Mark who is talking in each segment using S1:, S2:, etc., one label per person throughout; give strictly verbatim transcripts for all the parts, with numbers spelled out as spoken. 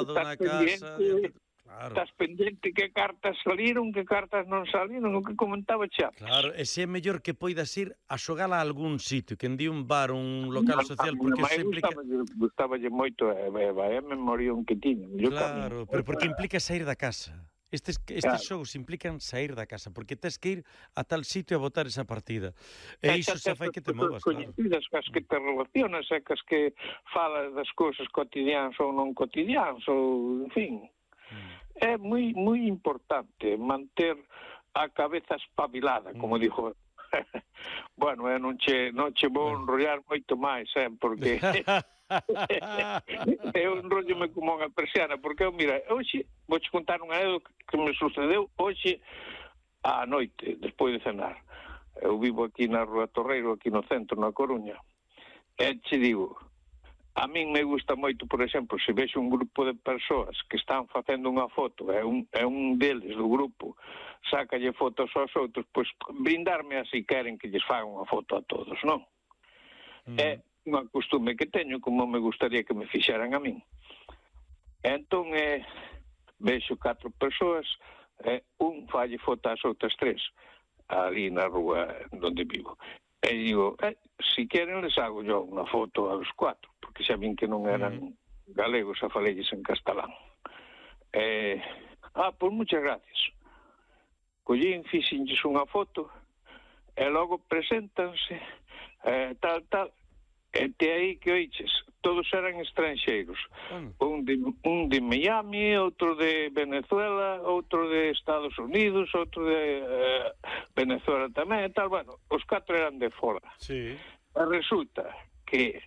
S1: guardado na casa...
S2: Claro. Estás pendente que cartas saliron, que cartas non saliron, o que comentaba xa.
S1: Claro, e se é mellor que poidas ir a xogala a algún sitio, que en di un bar, un local social, porque
S2: se
S1: implica...
S2: Gustaballe moito, é a memorión que tiña.
S1: Claro, pero porque implica sair da casa. Estes, estes claro. Xogos implican sair da casa, porque tens que ir a tal sitio a botar esa partida. E iso xa fai que te movas, claro.
S2: As que te relacionas, é que as que falas das cousas cotidianas ou non cotidianas, ou, en fin... Mm. É moi moi importante manter a cabeza espabilada, como mm. dijo. Bueno, eu non che, non che vou enrollar moito máis, eh, porque eu enrollome como unha persiana, porque eu, mira, hoxe vou che contar unha anécdota que me sucedeu hoxe á noite, despois de cenar. Eu vivo aquí na Rúa Torreiro, aquí no centro, na Coruña, e che digo... A min me gusta moito, por exemplo, se vexo un grupo de persoas que están facendo unha foto, é un, é un deles do grupo, sácalle fotos aos outros, pois brindarme así queren que lles faga unha foto a todos, non? Mm. É unha costume que teño, como me gustaría que me fixeran a min. Entón, é, vexo catro persoas, é, un falle foto ás outras tres, ali na rúa onde vivo. E digo, eh, si queren les hago yo unha foto aos cuatro, porque xa vin que non eran mm. galegos, a falelles en castelán. Eh, ah, pois muchas gracias. Collín, fixenlles unha foto, e logo preséntanse, eh, tal, tal, e te aí que oiches, todos eran estranxeiros. Mm. Un, de, un de Miami, outro de Venezuela, outro de Estados Unidos, outro de eh, Venezuela tamén, e tal, bueno, os catro eran de fora.
S1: Sí.
S2: E resulta que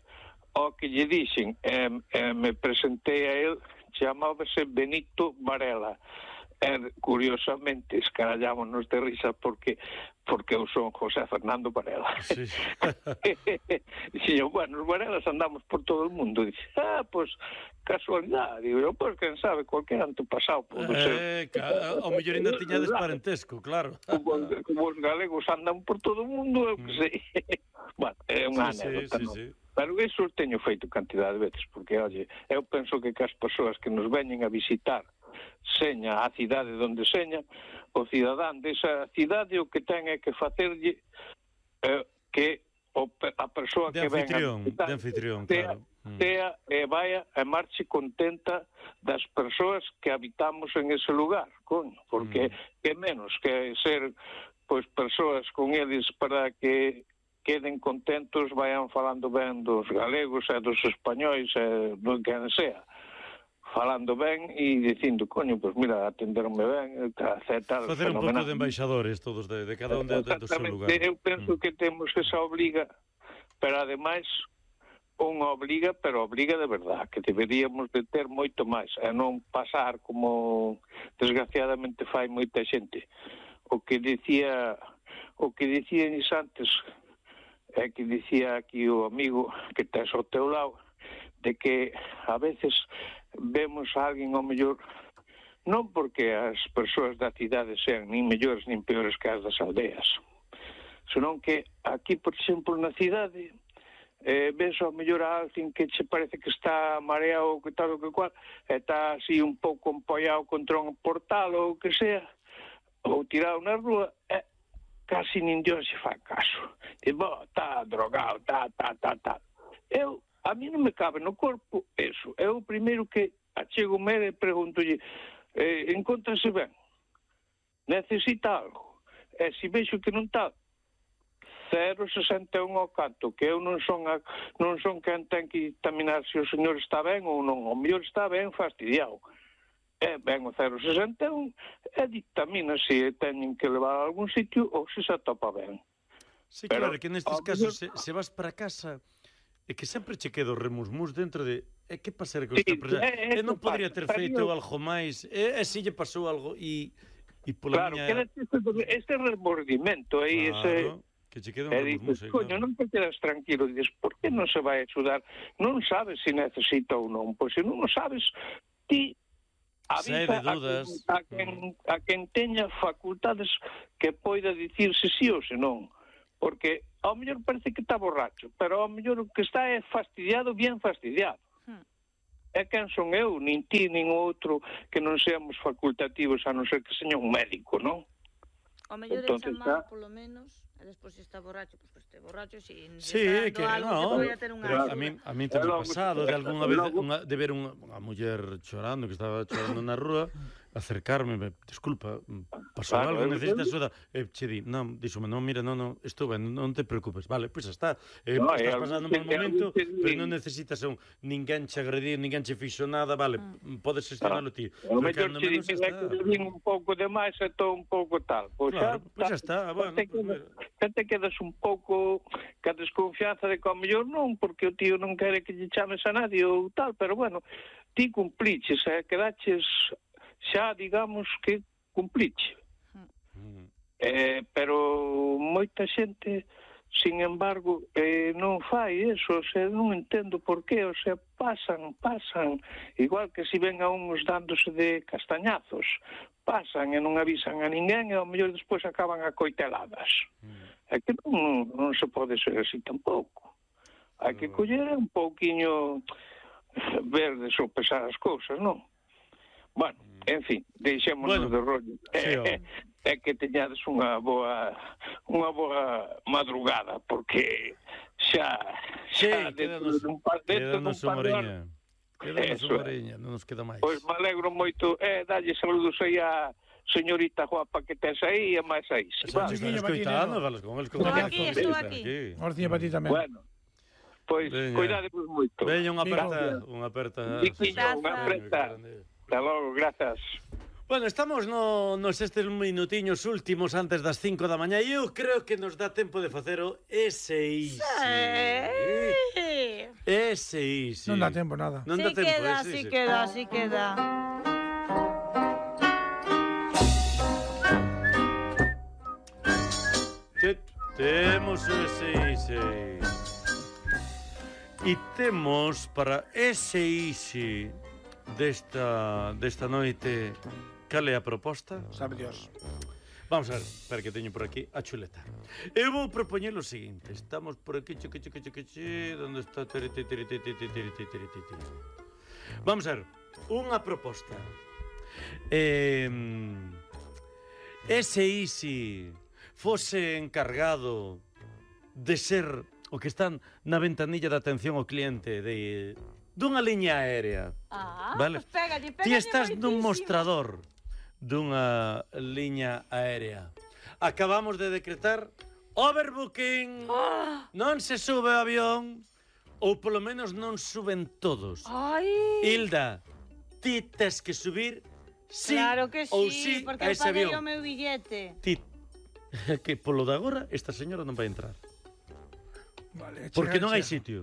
S2: o que lle dixen, eh, eh, me presentei a él, chamábase Benito Varela. E, curiosamente, escarallámonos de risa porque porque eu son José Fernando Varela. Sí. Dixo, bueno, os Varelas andamos por todo o mundo. Dice, ah, pois, pues, casualidade. Digo, eu, pois, quen sabe, cualquier antepasado pode
S1: eh,
S2: ser.
S1: Ca... O mellor ainda tiñades parentesco, claro.
S2: Como, como os galegos andan por todo o mundo, eu que sei. Bueno, é unha
S1: sí,
S2: anécdota,
S1: sí,
S2: non?
S1: sí, sí.
S2: Pero iso teño feito cantidade de veces, porque, oye, eu penso que que as persoas que nos veñen a visitar seña a cidade onde seña, o cidadán desa cidade o que ten é que facerlle eh, que o, a persoa
S1: de
S2: que ven
S1: a de anfitrión,
S2: tea,
S1: claro.
S2: tea e vaya e marche contenta das persoas que habitamos en ese lugar, coño, porque mm. que menos que ser pois persoas con eles para que queden contentos, vayan falando ben dos galegos e dos españois e do que sea, falando ben e dicindo, coño, pois pues mira, atenderme ben, etcétera.
S1: Facer un pouco de embaixadores todos de, de cada un de, de, do seu lugar.
S2: Eu penso mm. que temos esa obriga, pero ademais unha obriga, pero obriga de verdad, que deberíamos de ter moito máis, e non pasar como desgraciadamente fai moita xente. O que dicía, o que dicían antes, é que dicía aquí o amigo que tes ao teu lado, de que a veces vemos a alguén ao mellor, non porque as persoas da cidade sean nin mellores nin peores que as das aldeas, senón que aquí, por exemplo, na cidade, eh, ves ao mellor a alguén que che parece que está mareado ou que tal ou que cual, e está así un pouco empollado contra un portal ou que sea, ou tirado na rúa, e casi nin Dios se fa caso. E, bo, está drogado, está, está, está, está. Eu, a mí non me cabe no corpo eso. É o primeiro que achego me e preguntolle, eh, encóntrase ben? Necesita algo? E se vexo que non está, cero sesenta e un ao canto, que eu non son a, non son quen ten que dictaminar se o señor está ben ou non. O mellor está ben fastidiado. E ben o cero sesenta e un e dictamina se teñen que levar a algún sitio ou se se atopa ben.
S1: Sí, pero, claro, que nestes casos mellor... se, se vas para casa e que sempre che quedo remusmus dentro de e que pasar con esta persoa? E non podría ter feito eu... algo máis, e, e se lle pasou algo e, e pola
S2: claro,
S1: miña...
S2: Claro, que este remordimento aí,
S1: claro,
S2: ese...
S1: que che queda un remusmus.
S2: Dices, coño, claro. Non te quedas tranquilo, dices, por que non se vai axudar? Non sabes se necesita ou non, pois se non o sabes, ti avisa
S1: de dudas.
S2: A, quen, a, quen, a quen teña facultades que poida dicirse sí ou se non. Porque ao mellor parece que está borracho, pero ao mellor o que está é fastidiado, bien fastidiado. Hmm. E quen son eu? Nin ti, nin outro que non seamos facultativos, a non ser que seña un médico, non?
S3: O mellor é chamar, polo menos, e despois se está borracho, pois pues, este borracho, se
S1: sí,
S3: está
S1: que
S3: algo
S1: no,
S3: que podía ter unha
S1: pero a mí, a mí tamén pasado de algunha vez unha, de ver unha, unha muller chorando, que estaba chorando na rúa, acercarme, me, disculpa, pasou claro, algo, necesitas axuda, e che di, non, díxome, non, mira, non, non, estou ben, non te preocupes, vale, pois pues está, eh, no, estás pasando un mal momento, pero non necesitas un, ninguén che agredir, ninguén che fixo nada, vale, mm. podes gestionalo ti.
S2: O mellor che dices que te vin un pouco de máis e todo un pouco tal, pois
S1: claro,
S2: xa,
S1: pois xa está, bueno,
S2: te quedas, te quedas un pouco ca desconfianza de que ao mellor non, porque o tío non quere que lle chames a nadie ou tal, pero bueno, ti cumpliches, eh, quedaches xa, digamos, que cumpliche. Mm. Eh, pero moita xente, sin embargo, eh, non fai eso, o sea, non entendo por qué, o sea, pasan, pasan, igual que si ven a uns dándose de castañazos, pasan e non avisan a ninguén e ao mellor despois acaban acoiteladas. Mm. É que non, non se pode ser así tampouco. Hai que coller un pouquiño ver de sopesar as cousas, non? Bueno, en fin, deixémonos bueno, de rollo. Sí, é, é que teñades unha boa unha boa madrugada, porque xa xa
S1: sí, dentro dun par dentro dun par de horas. Quédanos unha horiña, non nos queda máis.
S2: Pois me alegro moito, eh, dalle saludos aí a señorita guapa que tes aí e máis aí.
S1: Están escoitando, falas con eles con
S3: estou aquí, estou aquí.
S4: Orciña para ti tamén.
S2: Bueno, pois cuidadevos moito.
S1: Veña unha aperta, unha aperta.
S2: Unha aperta. Hasta logo, grazas.
S1: Bueno, estamos no, nos estes minutiños últimos antes das cinco da mañá e eu creo que nos dá tempo de facer o ese I S I. Ese I S I.
S4: Non dá tempo nada.
S1: Non dá
S3: sí
S1: tempo,
S3: queda,
S1: ese,
S3: sí
S1: ese.
S3: queda, sí queda.
S1: Te, temos o ese I S I. E temos para ese I S I desta, desta noite, cal é a proposta?
S4: Sabe Dios.
S1: Vamos a ver, espera que teño por aquí a chuleta. Eu vou propoñer o seguinte, estamos por aquí, chique, chique, chique, chique, onde está? Vamos a ver, unha proposta. Eh, ese I S I fose encargado de ser o que están na ventanilla de atención ao cliente de dunha liña aérea.
S3: Ah,
S1: vale?
S3: Pues pégalle, pégalle.
S1: Ti estás
S3: moitísimo.
S1: nun mostrador dunha liña aérea. Acabamos de decretar overbooking.
S3: Oh.
S1: Non se sube o avión, ou polo menos non suben todos.
S3: Ai.
S1: Hilda, ti tes que subir sí
S3: claro que sí,
S1: ou sí
S3: porque
S1: a ese
S3: paguei
S1: avión.
S3: O meu billete.
S1: Ti, que polo de agora esta señora non vai entrar.
S4: Vale,
S1: Porque
S4: chega,
S1: non hai
S4: chega.
S1: sitio.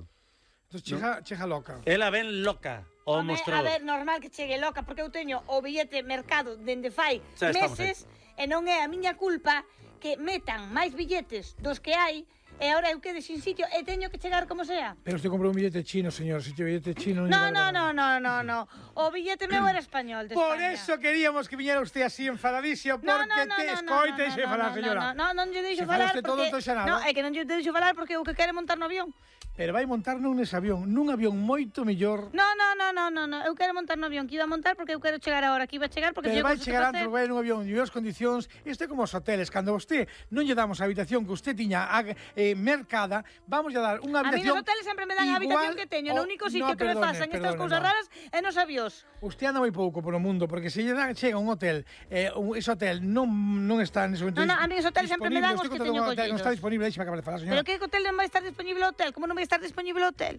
S4: Entón chega, chega loca.
S1: Ela ven loca ao
S3: Home,
S1: mostrador.
S3: a ver, normal que chegue loca, porque eu teño o billete mercado dende fai
S1: Xa estamos
S3: meses e non é a miña culpa que metan máis billetes dos que hai e agora eu quede sin sitio e teño que chegar como sea.
S4: Pero usted comprou un billete chino, señor. Si te billete chino...
S3: No, no, no, no, no, no. O billete meu era español, de
S4: Por
S3: España.
S4: eso queríamos que viñera usted así enfadadísimo, porque
S3: No, no, no,
S4: te
S3: no,
S4: escoite
S3: no,
S4: e se
S3: no,
S4: falar,
S3: no,
S4: señora.
S3: No, no, non lle deixo
S4: Se
S3: falar
S4: falaste todo,
S3: porque...
S4: entón xa nada.
S3: No, é que non lle deixo falar porque o que quere montar no avión.
S4: Pero vai montar nun nese avión, nun avión moito mellor.
S3: No, no, no, no, no, no. Eu quero montar no avión, que iba a montar porque eu quero chegar agora, que iba a chegar porque
S4: Pero
S3: teño
S4: vai
S3: cousas que
S4: chegar
S3: facer.
S4: antes, vai nun avión en mellores condicións. Isto é como os hoteles, cando vostede non lle damos a habitación que usted tiña eh, mercada, vamos a dar unha
S3: A mí
S4: habitación.
S3: nos hoteles sempre me dan a habitación que teño, no único sitio
S4: no,
S3: que me
S4: perdone,
S3: pasan estas
S4: perdone,
S3: cousas
S4: no.
S3: raras é nos avións.
S4: Usted anda moi pouco polo mundo, porque se lle da, chega un hotel, eh, un, ese hotel non, non está nese momento.
S3: No, no, a mí os hoteles sempre me dan os que teño collidos.
S4: Non está disponible, deixe acabar de falar, señora.
S3: Pero que hotel non vai estar disponible o hotel? Como non vai estar disponible o hotel?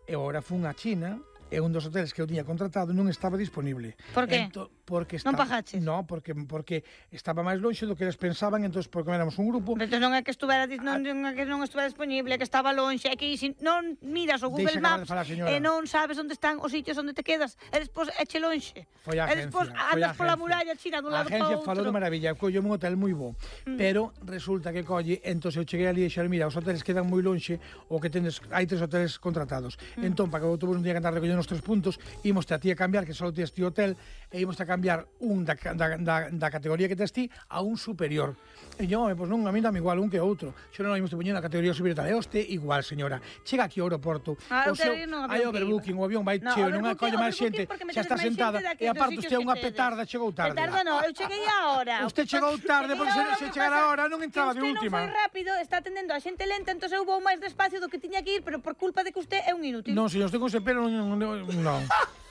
S4: E agora fun a China e un dos hoteles que eu tiña contratado non estaba disponible.
S3: Por que?
S4: Ento, porque
S3: Non
S4: estaba,
S3: pagaches?
S4: No, porque porque estaba máis lonxe do que eles pensaban, entón porque éramos un grupo.
S3: Entón non é que estuvera dis- non, non é que non estuvera disponible, é que estaba lonxe, é que si non miras o Google
S4: Deixa acabar de
S3: Maps
S4: falar, señora.
S3: e non sabes onde están os sitios onde te quedas, e despois eche lonxe.
S4: Foi a
S3: E
S4: agencia.
S3: despois
S4: foi a
S3: andas pola
S4: agencia.
S3: muralla china dun
S4: A
S3: lado para
S4: agencia
S3: outro.
S4: falou de maravilla, colle un hotel moi bo, mm. pero resulta que colle, entón eu cheguei ali e dixeron, mira, os hoteles quedan moi lonxe, o que tendes, hai tres hoteles contratados. Mm. Entón, para que o autobús non tiña que andar recollendo nos tres puntos, imos a ti a cambiar, que só tes ti hotel, e imos a cambiar un da, da, da, da categoría que tes ti a un superior. E yo, pois non, a mí dame igual un que outro. Xo non imos te poñer na categoría superior tal. E oste igual, señora. Chega aquí ao aeroporto.
S3: Ah,
S4: o seu, hai overbooking, o avión vai cheo, non colle máis xente, xa está sentada, e aparte usted é unha petarda, chegou tarde.
S3: Petarda non, eu cheguei a hora.
S4: Usted chegou tarde, porque se, se chegara a hora non entraba de última.
S3: Usted non foi rápido, está atendendo a xente lenta, entón eu vou máis despacio do que tiña que ir, pero por culpa de que usted é un inútil.
S4: Non, señor, usted con ese pelo non... non.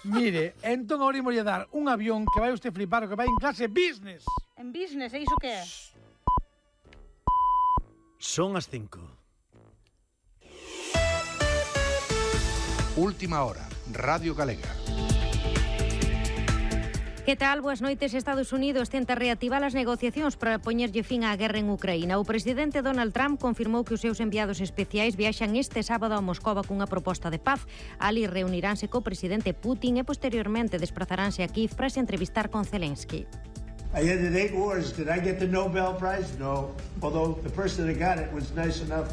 S4: Mire, entón agora imos dar un avión que vai usted flipar, que vai en clase business.
S3: En business, é iso que é?
S1: Son as cinco.
S5: Última hora, Radio Galega.
S6: Que tal? Boas noites. Estados Unidos tenta reactivar as negociacións para poñerlle fin á guerra en Ucraína. O presidente Donald Trump confirmou que os seus enviados especiais viaxan este sábado a Moscova cunha proposta de paz. Ali reuniránse co presidente Putin e posteriormente desplazaránse a Kiev para se entrevistar con Zelensky.
S7: I ended eight wars. Did I get the Nobel Prize? No. Although the person that got it was nice enough.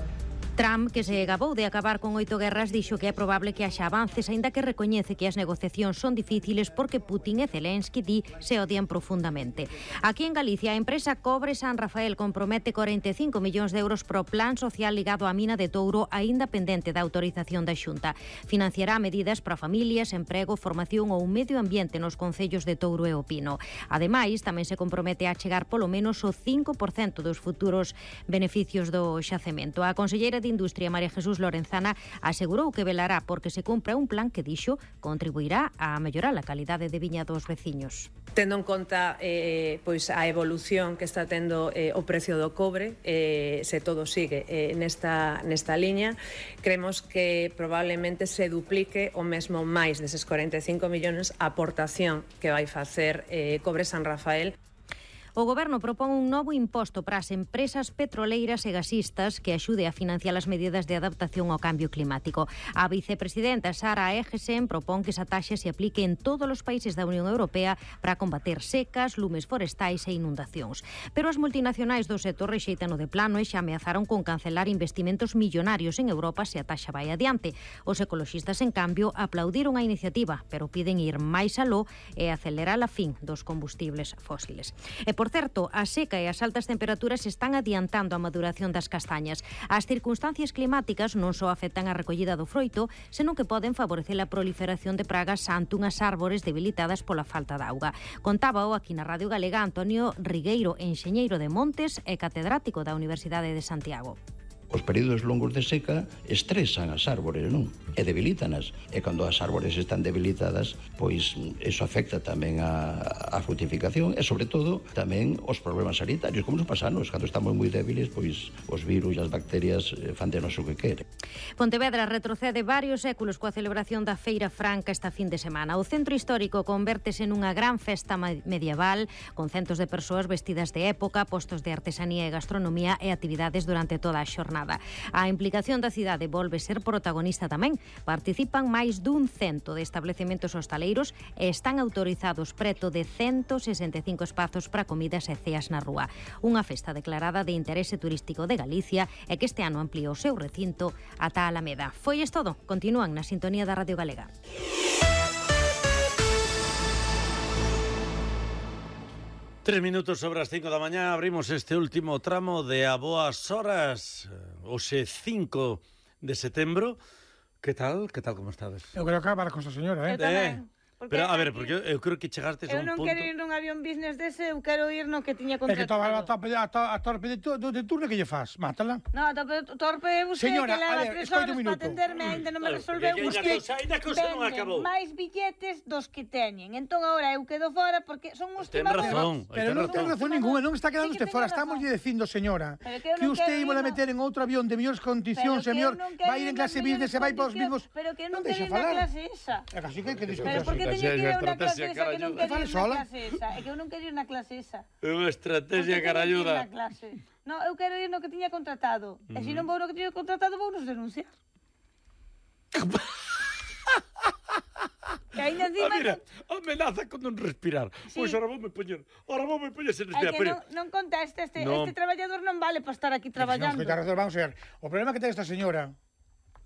S6: Trump, que se gabou de acabar con oito guerras, dixo que é probable que haxa avances, aínda que recoñece que as negociacións son difíciles porque Putin e Zelensky di se odian profundamente. Aquí en Galicia, a empresa Cobre San Rafael compromete corenta e cinco millóns de euros pro plan social ligado á mina de Touro, aínda pendente da autorización da Xunta. Financiará medidas para familias, emprego, formación ou medio ambiente nos concellos de Touro e O Pino. Ademais, tamén se compromete a chegar polo menos o cinco por cento dos futuros beneficios do xacemento. A conselleira de Industria, María Jesús Lorenzana, asegurou que velará porque se cumpra un plan que dixo contribuirá a mellorar a calidade de viña dos veciños.
S8: Tendo en conta eh, pois a evolución que está tendo eh, o precio do cobre, eh, se todo sigue eh, nesta, nesta liña, creemos que probablemente se duplique o mesmo máis deses corenta e cinco millóns a aportación que vai facer eh, Cobre San Rafael.
S6: O Goberno propón un novo imposto para as empresas petroleiras e gasistas que axude a financiar as medidas de adaptación ao cambio climático. A vicepresidenta Sara Egesen propón que esa taxa se aplique en todos os países da Unión Europea para combater secas, lumes forestais e inundacións. Pero as multinacionais do sector rexeitan o de plano e xa ameazaron con cancelar investimentos millonarios en Europa se a taxa vai adiante. Os ecoloxistas, en cambio, aplaudiron a iniciativa, pero piden ir máis aló e acelerar a fin dos combustibles fósiles. E Por certo, a seca e as altas temperaturas están adiantando a maduración das castañas. As circunstancias climáticas non só afectan a recollida do froito, senón que poden favorecer a proliferación de pragas ante unhas árbores debilitadas pola falta de auga. Contábao aquí na Radio Galega Antonio Rigueiro, enxeñeiro de Montes e catedrático da Universidade de Santiago.
S9: Os períodos longos de seca estresan as árbores, non? E debilítanas. E cando as árbores están debilitadas, pois eso afecta tamén a, a frutificación e, sobre todo, tamén os problemas sanitarios, como nos pasanos. Cando estamos moi débiles, pois os virus e as bacterias fan de nos o que quere.
S6: Pontevedra retrocede varios séculos coa celebración da Feira Franca esta fin de semana. O centro histórico convértese nunha gran festa medieval, con centos de persoas vestidas de época, postos de artesanía e gastronomía e actividades durante toda a xornada. A implicación da cidade volve ser protagonista tamén. Participan máis dun cento de establecementos hostaleiros e están autorizados preto de ciento sesenta e cinco espazos para comidas e ceas na rúa. Unha festa declarada de interese turístico de Galicia e que este ano ampliou o seu recinto ata a Alameda. Foi isto todo. Continúan na sintonía da Radio Galega.
S1: Tres minutos sobre as cinco da mañá, abrimos este último tramo de A Boas Horas, hoxe cinco de setembro. Que tal? Que tal, como estades?
S4: Eu creo que acabar con esta señora, eh?
S3: Eu tamén.
S1: Eh. Pero, a ver, porque eu creo que chegastes a un punto...
S3: Eu non quero ir nun avión business dese, eu quero ir no que tiña
S4: É que
S3: contratado.
S4: a torpe, a, to, a torpe de, tu, de turno que lle faz, mátala.
S3: No, a torpe, torpe é usted
S4: Señora,
S3: que leva
S4: a ver,
S3: tres
S4: escoite
S3: horas
S4: un
S3: para
S4: minuto.
S3: atenderme, ainda non me
S1: Claro,
S3: resolveu.
S1: porque
S3: Usted
S1: ainda cousa- ainda cousa non acabou.
S3: vende máis billetes dos que teñen. Entón, agora eu quedo fora porque son uns
S1: Ten
S3: timadores.
S1: razón.
S4: Pero
S1: ten
S4: non ten razón ninguna, non está quedando
S3: Sí que
S4: usted fora.
S3: teño
S4: Estamos
S3: razón.
S4: lle dicindo, señora,
S3: Pero que eu
S4: que
S3: non
S4: usted
S3: quero
S4: ímola
S3: ir, no.
S4: meter en outro avión de mellores condicións,
S3: Pero que
S4: señor,
S3: eu non quero
S4: vai ir en
S3: nas
S4: clase
S3: mellores
S4: business e vai para os mismos...
S3: condicións, Pero que eu non
S4: Non
S3: quero
S4: deixa
S3: ir na
S4: falar.
S3: clase esa.
S4: É que así que, que discute
S3: Pero por que
S4: así.
S3: teño que ir a unha clase
S1: estrategia
S3: esa que non
S1: caralluda.
S3: quero ir
S4: Fale
S3: na
S4: sola.
S3: clase esa? É que eu non quero ir na clase esa.
S1: É unha estrategia
S3: Porque teño que ir
S1: caralluda.
S3: na clase. No, eu quero ir no que tiña contratado. E se non vou no que tiña contratado, vou nos denunciar. Que ainda
S1: Ah,
S3: encima...
S1: mira, amenaza con non respirar.
S3: Sí.
S1: Pois ahora voume poñer, ahora voume poñer sen
S3: É
S1: respirar.
S3: que
S1: Pero,
S3: non, non conteste, este,
S1: No.
S3: este traballador non vale para estar aquí
S4: Non,
S3: traballando.
S4: escoita, razón, vamos a ver. O problema que ten esta señora,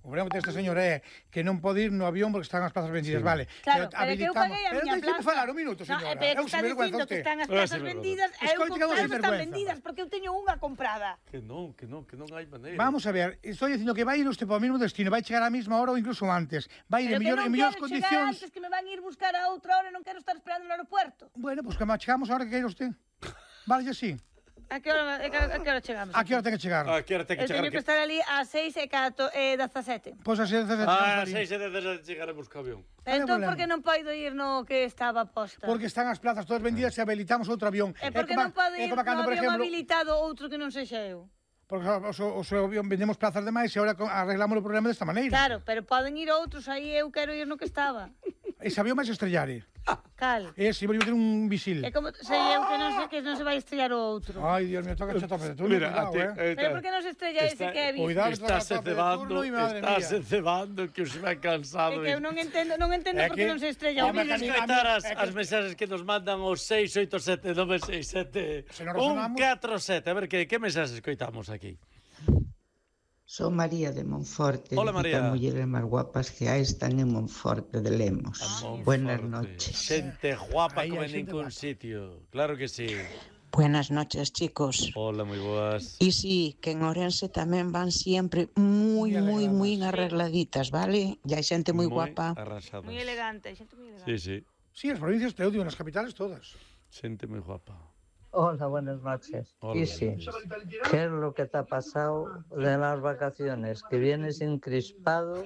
S4: O problema que ten esta señora é que non pode ir no avión porque están as plazas vendidas, vale.
S3: Claro, pero que eu paguei a
S4: Pero
S3: miña
S4: deixe-me
S3: plaza.
S4: falar un minuto, señora.
S3: No, pero
S4: Eu
S3: que está
S4: se vergüenza
S3: dicindo que
S4: usted.
S3: están as
S1: Ah,
S3: plazas
S1: sí,
S3: vendidas, e eu
S4: Escoite que
S3: claro
S4: vamos
S3: que están
S4: sinvergüenza.
S3: vendidas porque eu teño unha comprada.
S1: Que non, que non, que non hai maneira.
S4: Vamos a ver, estou dicindo que vai ir usted para o mesmo destino, vai chegar á mesma hora ou incluso antes. Vai ir
S3: Pero
S4: en
S3: que
S4: mellor,
S3: non
S4: en mellores
S3: quero chegar
S4: condicións.
S3: antes, que me van a ir buscar a outra hora e non quero estar esperando no aeropuerto.
S4: Bueno, pois pues que chegamos a hora que queira usted. Vale, sí.
S3: A que hora, a que, a que hora chegamos?
S4: A que hora ten que chegar?
S1: Ah, que hora ten que
S3: Eu
S1: chegar?
S3: teño que estar ali a seis e cato e dezasete.
S4: Pois as seis
S1: Ah, seis e dezasete chegaremos co avión.
S3: Entón, por que non podo ir no que estaba posta?
S4: Porque están as plazas todas vendidas e habilitamos outro avión.
S3: E por que
S4: como-
S3: non podo
S4: é
S3: ir
S4: como
S3: no
S4: cando, por
S3: avión
S4: exemplo,
S3: habilitado outro que non sexa eu?
S4: Porque o, o, o seu avión vendemos plazas de máis e agora co- arreglamos o problema desta maneira.
S3: Claro, pero poden ir outros, aí eu quero ir no que estaba.
S4: Ese avión vai se estrellare.
S3: Cal?
S4: Ese, vai ter un visil.
S3: É como sei eu que non sei que non se vai estrellar o outro.
S4: Ai, Dios mío, toca a tope de turno,
S1: Mira,
S4: cuidado,
S1: a ti,
S4: eh.
S3: Pero por que non se estrella ese que é visto?
S4: Cuidado,
S1: Estás
S4: toca a tope de
S1: cebando,
S4: turno e madre
S1: estás
S4: mía.
S1: cebando que os vai cansado.
S3: É que eu non entendo, non entendo
S4: É
S3: por que
S4: que-
S3: non se estrella o
S4: Home,
S3: vídeo.
S4: que-
S1: Escoitar as,
S4: É que-
S1: as mensaxes que nos mandan os seis oito sete nove seis sete
S4: Se nos
S1: un
S4: resonamos-
S1: catro sete. A ver, que, que mensaxes escoitamos aquí?
S10: Son María de Monforte.
S1: Hola, María.
S10: Las mujeres más guapas que hay están en Monforte de Lemos. Buenas noches.
S1: Xente guapa
S4: Aí
S1: como
S4: hai
S1: en
S4: xente
S1: ningún
S4: guapa.
S1: sitio. Claro que sí.
S10: Buenas noches, chicos.
S1: Hola, moi boas.
S10: Y sí, que en Orense también van siempre muy,
S4: Muy
S10: muy, muy
S4: arregladas.
S10: arregladitas, ¿vale? Ya hay gente muy,
S1: Moi
S10: guapa.
S1: arrasadas.
S3: Moi elegante, xente moi elegante.
S1: Sí, sí.
S4: Sí, as provincias te odio, nas capitales todas.
S1: Xente moi guapa.
S11: Hola, buenas noches.
S1: Hola,
S11: y sí, ¿qué es lo que te ha pasado de las vacaciones? Que vienes encrispado,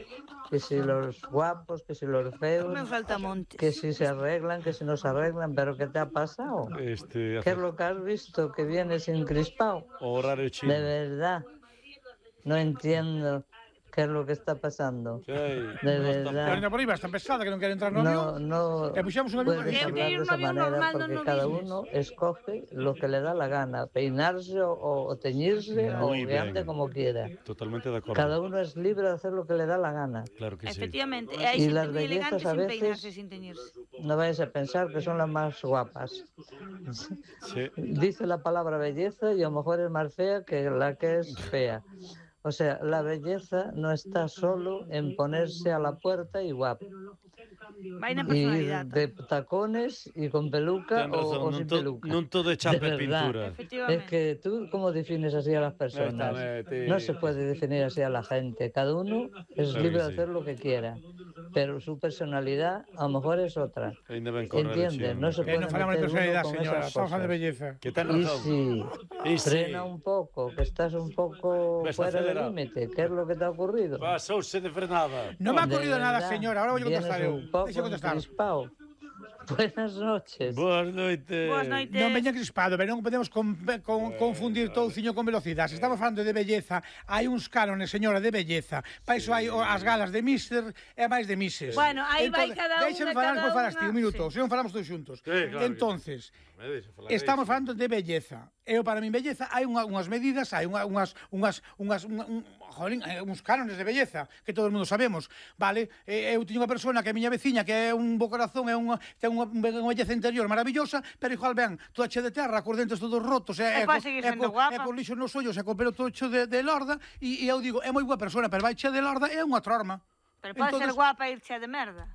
S11: que si los guapos, que si los feos,
S3: Me falta monte.
S11: que si se arreglan, que si no se arreglan, pero ¿qué te ha pasado?
S1: Este,
S11: ¿Qué es lo que has visto? Que vienes encrispado.
S1: o horario chino.
S11: De verdad, no entiendo qué es lo que está pasando.
S1: Sí,
S11: De
S1: no está-
S4: Pero
S11: verdad.
S4: ainda por aí vas tan pesada que non quere entrar no
S11: No,
S4: avión.
S11: no
S4: E puxamos un avión
S11: puedes
S4: para
S11: hablar
S3: ir
S11: de
S3: un
S11: esa
S3: avión
S11: manera
S3: normal, no
S11: porque
S3: no
S11: cada
S3: business.
S11: uno escoge lo que le da la gana, peinarse o, o teñirse o
S1: Muy
S11: que ande
S1: bien.
S11: como quiera.
S1: Totalmente de acordo.
S11: Cada uno es libre de hacer lo que le da la gana.
S1: Claro que sí.
S3: Efectivamente, e hai
S11: Y
S3: xente
S11: las
S3: moi elegante
S11: bellezas a
S3: sin
S11: veces-
S3: peinarse, sin teñirse.
S11: No vayas a pensar que son las más guapas.
S1: Sí.
S11: Dice la palabra belleza y a lo mejor es más fea que la que es fea. O sea, la belleza no está solo en ponerse a la puerta y guapo.
S3: Vai na
S11: Y ir
S3: personalidade.
S11: de tacones y con peluca
S1: Ten
S11: o,
S1: razón,
S11: o
S1: non
S11: sin
S1: to-
S11: peluca.
S1: non todo é chapa
S11: De
S1: e
S11: verdad.
S1: pintura.
S11: Es
S3: Efectivamente.
S11: que tú, ¿cómo defines así a las personas?
S1: Exactamente.
S11: No se puede definir así a la gente. Cada uno es
S1: Claro
S11: libre
S1: que
S11: de
S1: sí.
S11: hacer lo que quiera. Pero su personalidad a lo mejor es otra.
S1: Ainda ben correr.
S11: ¿Entiendes? No se
S4: Que
S11: puede
S4: non falamos de
S11: meter uno
S4: personalidade,
S11: con
S4: señora.
S11: esas
S4: Estamos falando de
S11: cosas.
S4: belleza.
S1: Que ten
S11: Y
S1: razón.
S11: sí,
S1: Y sí.
S11: frena un poco, que estás un poco
S1: Ves
S11: fuera del
S1: acelerado.
S11: límite. ¿Qué es lo que te ha ocurrido?
S1: Pasouse de frenada.
S4: Non me ha
S11: De
S4: ocurrido nada,
S11: verdad,
S4: señora. Ahora voy a contestar
S11: vienes
S4: eu.
S11: un poco
S4: Deixe contestar.
S11: encrispado. Buenas noches.
S1: Boas noites.
S3: Boas noites.
S4: Non veña crispado, pero non podemos con, con, confundir touciño con velocidade. Se estamos falando de belleza, hai uns cánones, señora, de belleza. Pa iso hai o- as galas de mister e máis de misses.
S3: Bueno, aí vai cada unha,
S4: Déixame falar,
S3: cada
S4: despois falas ti,
S3: unha.
S4: un minuto,
S3: Sí.
S4: se non falamos todos xuntos.
S1: Sí, claro.
S4: Entonces,
S1: Me deixa falar
S4: estamos
S1: iso.
S4: falando de belleza. Eu, para min, belleza, hai unha, unhas medidas, hai unha, unhas, unhas, unhas, un, un, jolín, hai uns cánones de belleza, que todo o mundo sabemos, vale? E, eu teño unha persona que é miña veciña, que é un bo corazón, é unha, ten unha, unha belleza interior maravillosa, pero igual ben, toda che de terra, cos dentes todos rotos, e,
S3: E pode seguir sendo
S4: co,
S3: guapa.
S4: e co lixo nos ollos, e co pelo todo cho de, de lorda, e, e eu digo, é moi boa persona, pero vai che de lorda, é unha trorma.
S3: Pero pode ser
S4: Entonces-
S3: guapa e ir chea de merda.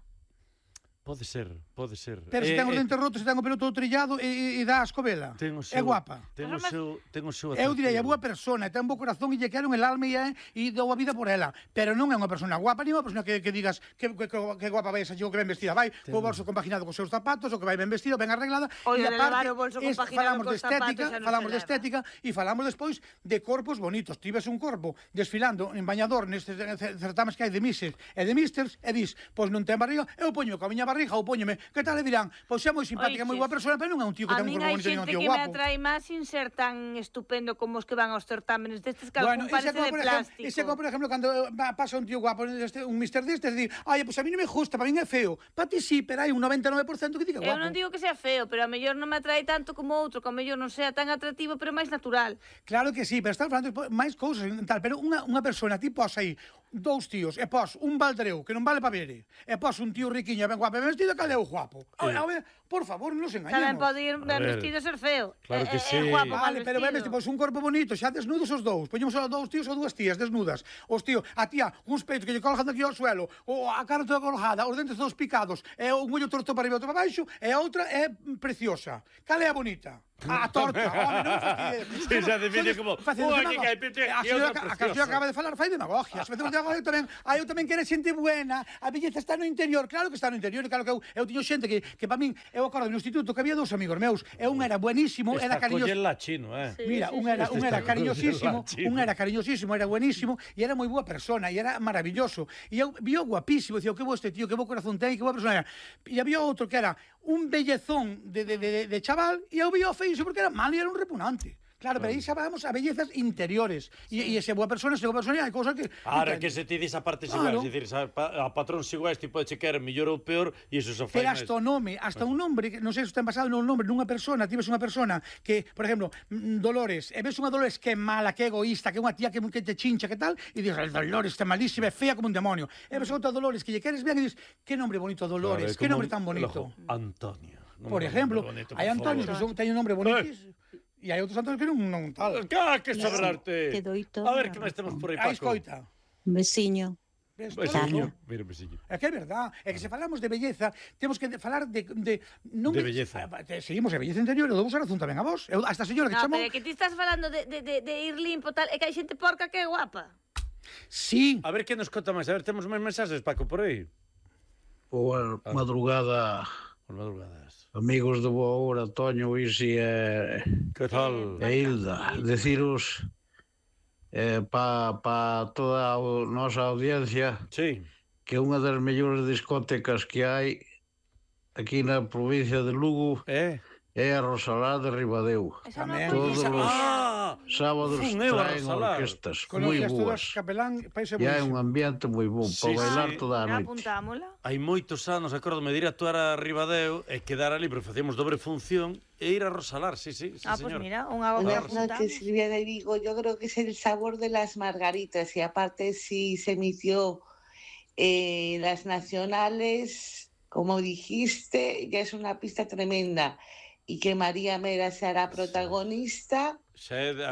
S1: Pode ser, pode ser.
S4: Pero se
S1: Eh,
S4: ten os
S1: eh,
S4: dentes rotos, se ten o pelo todo trillado e, e, e dá a escobela.
S1: ten o
S4: É
S1: seu-
S4: guapa.
S1: Ten o seu, ten o seu
S4: Eu direi, é
S1: atractivo.
S4: boa persona, ten un bo corazón e lle quero el alma e, é- e dou a vida por ela. Pero non é unha persona guapa, ni unha persona que, que digas que, que, que, que guapa vai esa chico que ben vestida. Vai co bolso compaginado cos seus zapatos, o que vai ben vestido, ben arreglada.
S3: Oye,
S4: e
S3: de levar o bolso
S4: es-
S3: compaginado
S4: falamos de
S3: cos zapatos
S4: estética,
S3: xa non
S4: falamos
S3: se
S4: de
S3: leva.
S4: estética e falamos despois de corpos bonitos. Tives un corpo desfilando en bañador nestes certames que hai de misses e de misters e dis, pois non ten barriga, eu poño coa miña barriga ou póñome, que tal? E dirán, pois é moi simpática, moi boa persona, pero non é un tío que
S3: A
S4: ten un
S3: min
S4: corpo
S3: hai
S4: bonito nin un
S3: xente
S4: tío
S3: que me
S4: guapo.
S3: atrae máis sin ser tan estupendo como os que van aos certámenes destes que
S4: Bueno,
S3: algún
S4: ese
S3: parece
S4: como,
S3: de
S4: por ejemplo,
S3: plástico.
S4: ese como, por ejemplo, cando eh, va- pasa un tío guapo, este, un mister destes, di, ai, pues a mí non me gusta, para mí é feo. Para ti sí, pero hai un noventa e nove por cento que diga
S3: Eu
S4: guapo.
S3: non digo que sea feo, pero a mellor non me atrae tanto como outro, que a mellor non sea tan atractivo, pero máis natural.
S4: Claro que sí, pero estamos falando de máis cousas, tal, pero unha, unha persona tipo así, dous tíos, e pos un baldreu que non vale pa ver, e pos un tío riquiño ben guapo e vestido, cal é o guapo? A ver, por favor, non nos engañemos.
S3: Tamén pode ir ben vestido e ser feo.
S1: Claro que sí.
S3: Guapo,
S4: vale, pero ben vestido, pois un corpo bonito, xa desnudos os dous. Poñemos os dous tíos ou dúas tías desnudas. Os tíos, a tía, uns peitos que lle colgan aquí ao suelo, ou a cara toda colgada, os dentes todos picados, e un ollo torto para arriba e outro para baixo, e a outra é preciosa. Cal é a bonita? A torta, home, non fastidies.
S1: Sí, xa define como, oi, que hai pete,
S4: a canción acaba de falar, fai demagogia. Se facemos demagogia tamén, ah, eu tamén quero xente buena, a belleza está no interior, claro que está no interior, claro que eu, eu tiño xente que, que para min, eu acordo no instituto que había dous amigos meus, e un era buenísimo, era cariñoso.
S1: Está chino, eh.
S4: Mira, un era, un era cariñosísimo, un era cariñosísimo, era buenísimo, e era moi boa persona, e era maravilloso. E eu vio guapísimo, dicía, que bo este tío, que bo corazón ten, que boa persona era. E había outro que era un bellezón de, de, de, de chaval, e eu vio feísimo porque era mal e era un repugnante. Claro, pero aí xa vamos a bellezas interiores. E, e se boa persona, se boa persona, hai cousas que...
S1: Ahora que se ti dis a partes
S4: claro.
S1: iguais, dicir, a patróns iguais, ti pode chequer mellor ou peor, e iso só fai
S4: pero hasta o nome, hasta un nombre, non sei se ten basado nun nombre nunha persona, ti ves unha persona que, por exemplo, Dolores, e ves unha Dolores que é mala, que é egoísta, que é unha tía que, que te chincha, que tal, e dices, Dolores está malísima, é fea como un demonio. E ves outra Dolores que lle queres ben e dices, que nombre bonito Dolores,
S1: claro,
S4: que nombre tan bonito.
S1: Antonio.
S4: Por ejemplo, hai Antonio que teñen un nombre bonito. E hai outros Antonios que non, non tal.
S1: Ah, que sabrarte. A ver, que máis temos por aí, Paco.
S4: Aí escoita.
S12: Veciño.
S1: Veciño. Mira, veciño.
S4: É que é verdad. É que se falamos de belleza, temos que falar de... De,
S1: non de belleza.
S4: De, seguimos a belleza interior, e dou a razón tamén a vos. Eu, a esta señora que
S3: no,
S4: chamou...
S3: No, pero é que ti estás falando de, de, de, de ir limpo, tal, é que hai xente porca que é guapa.
S4: Sí.
S1: A ver, que nos conta máis? A ver, temos máis mensaxes, Paco, por aí.
S13: Boa madrugada.
S1: Boas madrugadas.
S13: Amigos de boa hora, Toño, Isi e...
S1: Que tal?
S13: E Hilda. Deciros eh, para pa toda a nosa audiencia
S1: sí.
S13: que unha das mellores discotecas que hai aquí na provincia de Lugo
S1: eh?
S13: é a Rosalá de Ribadeo.
S4: Tamén.
S13: Todos os
S1: ah,
S13: sábados traen orquestas moi boas.
S4: Capelán,
S13: e hai un ambiente moi bon sí, para bailar sí. toda a noite.
S3: Apuntámola.
S1: Hai moitos anos, acordome de ir a actuar a Ribadeo e quedar ali, pero facíamos dobre función e ir a Rosalar, sí, sí, sí
S3: ah,
S1: señor.
S3: Pues mira, unha
S12: Buenas noches, Silvia de Vigo. Yo creo que es el sabor de las margaritas y aparte si se emitió eh, las nacionales, como dijiste, ya es una pista tremenda. Y que María Mera se hará protagonista.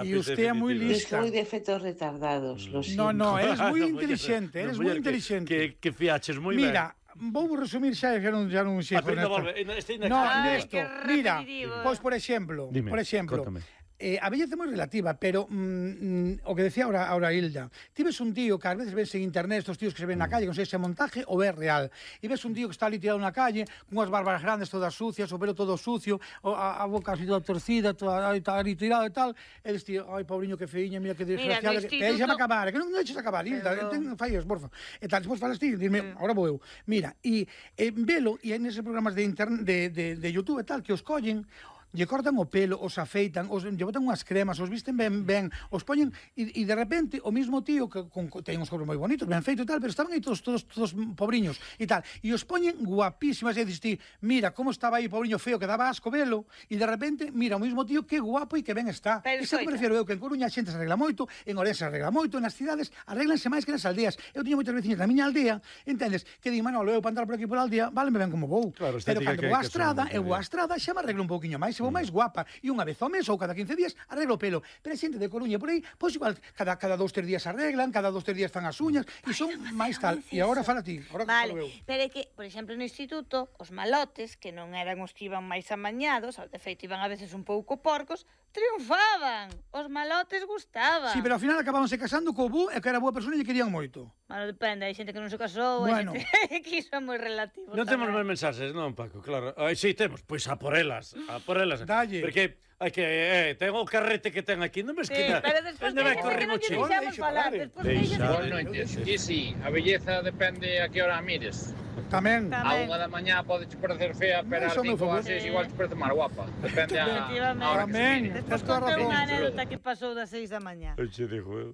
S4: Y usted es muy lista.
S12: Yo soy de efectos retardados, lo siento.
S4: No, no, eres muy inteligente, eres muy inteligente.
S1: Que, que fiaches moi ben.
S4: Mira, vou resumir xa, xa non, xa non sei.
S1: Ah, pero volve, este
S4: no, Ernesto, mira, pois por exemplo,
S1: Dime,
S4: por exemplo,
S1: cóntame.
S4: Eh, a belleza é moi relativa, pero mm, o que decía ahora, ahora Hilda, ti ves un tío que ás veces ves en internet, estos tíos que se ven na calle, non sei se é montaje ou é real, e ves un tío que está ali tirado na calle, con unhas barbas grandes todas sucias, o pelo todo sucio, a, a boca así toda torcida, toda ali tirado e tal, e dices, tío, ai, pobriño, que feiña, mira que desgraciado, que instituto... deixame acabar, que non deixes acabar, Hilda, ten fallos, porfa. E tal, despois falas ti, dime, agora vou eu. Mira, e eh, velo, e en eses programas de, internet, de, de, de YouTube e tal, que os collen, lle cortan o pelo, os afeitan, os lle botan unhas cremas, os visten ben, ben, os poñen e, e de repente o mismo tío que con, ten uns corpos moi bonitos, ben feito e tal, pero estaban aí todos todos todos pobriños e tal, e os poñen guapísimas e dices ti, mira como estaba aí pobriño feo que daba asco velo, e de repente mira o mismo tío que guapo e que ben está. Iso que me refiro eu, que en Coruña a xente se arregla moito, en Ourense se arregla moito, nas cidades arreglanse máis que nas aldeas. Eu tiño moitas veciñas na miña aldea, entendes, que di, Manolo, eu para andar por aquí por a aldea, váleme ben como vou.
S1: Claro,
S4: pero cando vou á estrada, eu vou á estrada xa me arreglo un pouquiño máis, se vou máis guapa. E unha vez ao mes ou cada quince días arreglo o pelo. Pero a xente de Coruña por aí, pois igual, cada, cada dos, tres días arreglan, cada dos, tres días fan as uñas, e son máis tal. E agora fala ti, agora
S3: vale,
S4: que falo eu.
S3: Pero é que, por exemplo, no instituto, os malotes, que non eran os que iban máis amañados, de feito iban a veces un pouco porcos, triunfaban. Os malotes gustaban.
S4: Sí, pero ao final acabábanse casando co bu e que era boa persona e lle querían moito.
S3: Bueno, depende, hai xente que non se casou,
S4: bueno.
S3: Xente que iso é moi relativo.
S1: Non temos máis mensaxes, non, Paco, claro. Ai, sí, temos, pois a por elas, a por elas.
S4: Dalle.
S1: Porque hai que, eh, ten o carrete que ten aquí, non ves
S3: sí,
S1: que
S3: na... pero despois
S1: que
S3: non lle deixamos falar, despois deixamos...
S14: Boas noites, sí, sí, a belleza depende a que hora mires.
S4: Tamén.
S14: A unha da mañá pode te parecer fea, pero a cinco ou a seis igual te parece máis guapa. Depende a, a hora que
S4: Tamén.
S3: Despois conté unha anécdota que pasou das seis da mañá.
S1: Oxe, dijo eu.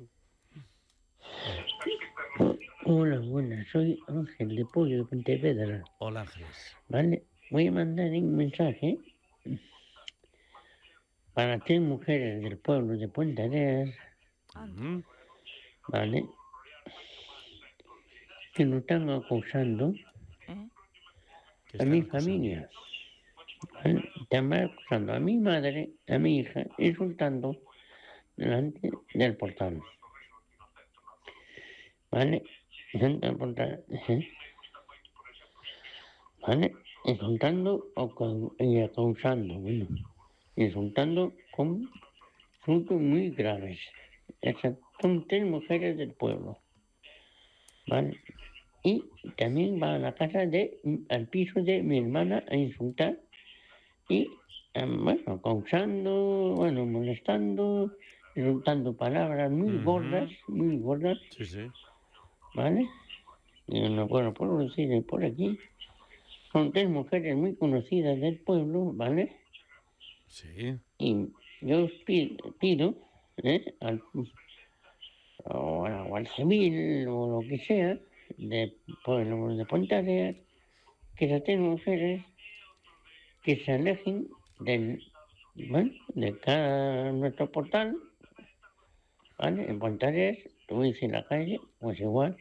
S15: Hola, buenas, soy Ángel de Pollo de Pontevedra.
S1: Hola, Ángeles.
S15: Vale, voy a mandar un mensaje para tres mujeres del pueblo de Puente Arenas,
S1: uh-huh.
S15: ¿vale? que nos están acusando a mi familia. ¿Vale? Están acusando a mi madre, a mi hija, insultando delante del portal. ¿Vale? Delante del portal. ¿eh? ¿Vale? Insultando o con, y acusando, bueno, insultando con insultos muy graves. Esas son tres mujeres del pueblo. ¿Vale? Y también va a la casa de, al piso de mi hermana a insultar y, um, bueno, acusando, bueno, molestando, insultando palabras muy uh-huh. gordas, muy gordas.
S1: Sí, sí.
S15: ¿Vale? Y no, bueno, puedo decir por aquí. Son tres mujeres muy conocidas del pueblo, ¿vale?
S1: Sí.
S15: Y yo os pido, pido ¿eh? al, o al civil o lo que sea, de pueblo de Pontareas, que esas tres mujeres que se alejen del, bueno, de cada nuestro portal, ¿vale? En Pontareas, tú dices en la calle, pues igual,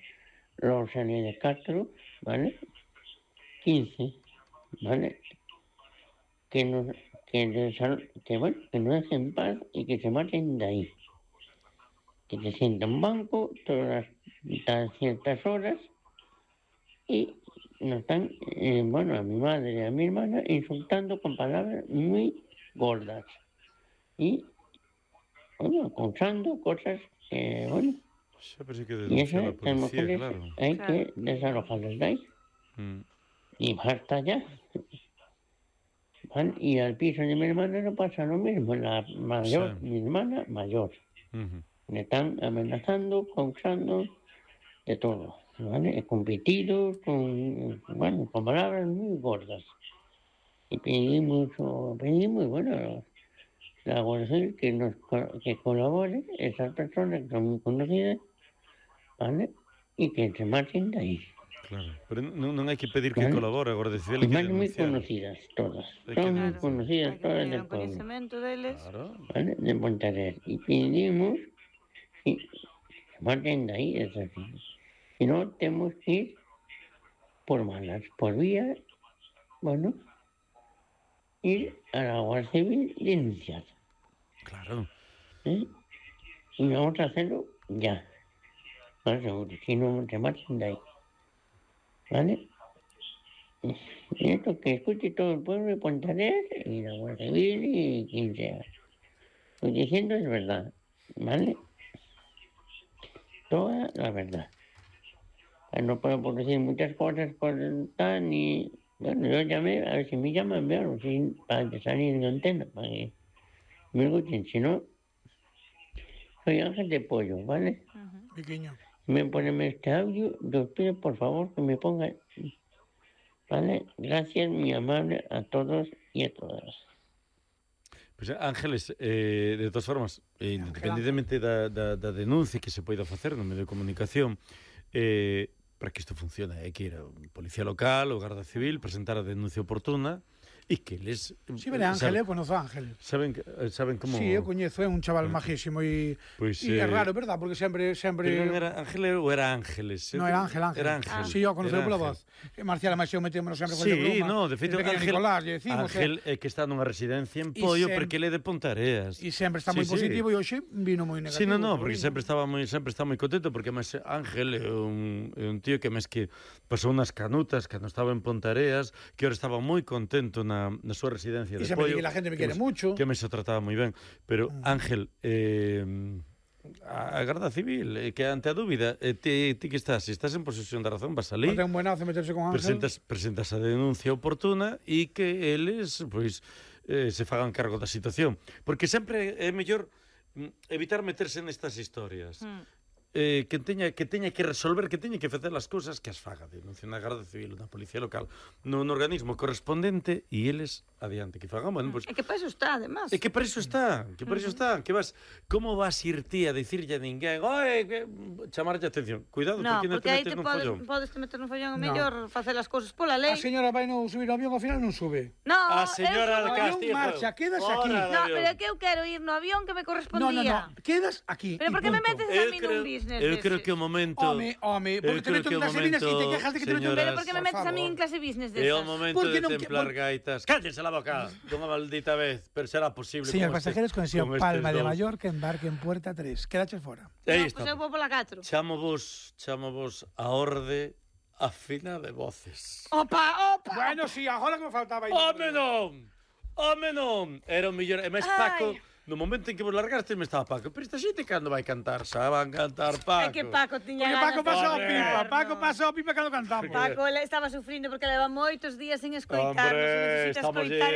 S15: Rosalía de Castro, ¿vale? quince, ¿vale? Que nos, que, que, bueno, que nos dejen en paz y que se maten de ahí. Que se sientan en un banco todas las ciertas horas y nos están, eh, bueno, a mi madre y a mi hermana insultando con palabras muy gordas. Y, bueno, acusando cosas que, bueno, y esas mujeres claro. hay claro. que desalojarlas de ahí. Mm. Y basta ya. ¿Vale? Y al piso de mi hermana no pasa lo mismo. La mayor, sí. mi hermana mayor. Uh-huh. Le están amenazando, causando de todo. ¿Vale? Con pitidos, con, bueno, con palabras muy gordas. Y pedimos, pedimos bueno, la Guardia Civil que nos que colabore esas personas que son muy conocidas, ¿vale? Y que se marchen de ahí.
S1: Claro, pero non, non hai que pedir que ¿vale? colabore, a Guardia Civil hai que
S15: denunciar. Moi conocidas todas, son moi conocidas todas del pueblo.
S3: Conocimiento deles.
S1: Claro.
S15: ¿Vale? De Pontareas. Y pedimos que se maten de ahí, es así. Si no, tenemos que ir por malas, por vía, bueno, ir a la Guardia Civil y denunciar.
S1: Claro.
S15: ¿Eh? Y vamos a hacerlo ya. Más seguro, si no, se maten de ahí. ¿Vale? Y esto que escuche todo el pueblo de Pontareas y la Guardia Civil y quien sea. Lo que diciendo es verdad, ¿vale? Toda la verdad. No puedo decir muchas cosas por tal ni... Bueno, yo llamé, a ver si me llaman, veo, si, para salir en antena, para que me escuchen. Si no, soy Ángel de Pollo, ¿vale?
S4: Uh-huh. Pequeño.
S15: Me ponen este audio, os pido por favor que me pongan, ¿vale? Gracias, muy amable a todos y a todas.
S1: Pois, Ángeles, eh, de todas formas, eh, independentemente da, da, da denuncia que se poida facer no medio de comunicación, eh, para que isto funcione, hai que ir a policía local ou Garda Civil, presentar a denuncia oportuna, e que les...
S4: Si, vele Ángel, eu conozo a Ángel.
S1: Saben, saben como...
S4: Si, sí, eu coñezo, é un chaval majísimo e
S1: pues,
S4: é eh, raro, verdad? Porque sempre... sempre...
S1: Pero non era Ángel ou era Ángeles?
S4: Non, era Ángel, Ángel.
S1: Era Ángel.
S4: Ah. Si, sí, eu conozo pola voz. E Marcial Amaxeu metémonos sempre con
S1: sí,
S4: el broma.
S1: No, de feito, Ángel,
S4: Nicolás, decimos,
S1: Ángel é que está nunha residencia en Pollo porque ele é de Pontareas.
S4: E sempre está moi sí, positivo sí. E hoxe vino moi negativo.
S1: Si, sí, non, non, porque sempre estaba moi sempre está moi contento porque máis Ángel é un, é un tío que máis que pasou unas canutas cando estaba en Pontareas, que ahora estaba moi contento na, na súa residencia de
S4: y
S1: Pollo.
S4: Que la gente me quiere que mucho.
S1: Que me se trataba moi ben. Pero, mm. Ángel, eh, a Garda Civil, eh, que ante a dúbida, eh, ti, ti que estás, se estás en posesión da razón, vas ali,
S4: no ten buenazo meterse con Ángel.
S1: Presentas, presentas a denuncia oportuna e que eles, pois, eh, se fagan cargo da situación. Porque sempre é mellor evitar meterse nestas historias. Mm. Eh, que teña que teña que resolver, que teña que facer as cousas que as faga, denuncia na Garda Civil, na Policía Local, no, no organismo correspondente e eles adiante que fagan, bueno, pues,
S3: é que para iso está, además.
S1: É que para iso está, que para iso está, que vas, como vas ir ti a dicirlle a ninguén, oi, que chamarlle a atención. Cuidado,
S3: no,
S1: porque non te metes nun follón.
S3: Podes te meter nun follón, é mellor no. facer as cousas pola lei.
S4: A señora vai non subir ao avión, ao final non sube.
S3: No,
S1: a señora de Castillo.
S4: Marcha, quedas aquí.
S3: No, pero é que eu quero ir no avión que me correspondía.
S4: No, no, no, quedas aquí.
S3: Pero por que me metes a mí nun bis? business
S1: Eu
S3: deses.
S1: creo que o momento...
S4: Home, home, porque te meto en clase business e te quejas de que te meto en...
S3: Pero por que me metes a mí en clase business desas?
S1: É o momento de templar gaitas. Cállense la boca, dunha maldita vez, pero será posible.
S4: Señor pasajeros, conexión Palma de Mallorca, embarque en Puerta tres. Quedaches fora.
S1: Aí
S3: está. Pois eu vou pola catro.
S1: Chamo vos, chamo vos a orde afina de voces.
S3: Opa, opa!
S4: Bueno, si, agora que me faltaba...
S1: Home non! Home non! Era o mellor... E máis Paco... No momento en que vos largaste me estaba Paco. Pero esta xente cando vai cantar? Xa van cantar Paco.
S3: É que Paco tiña
S4: Porque
S3: ganas.
S4: Paco pasou
S3: de
S4: pipa.
S3: no.
S4: Paco pasou pipa cando cantamos.
S3: Paco estaba sufrindo porque leva moitos días sin escoitarnos.
S1: Hombre,
S3: Necesita
S1: estamos
S3: escoitar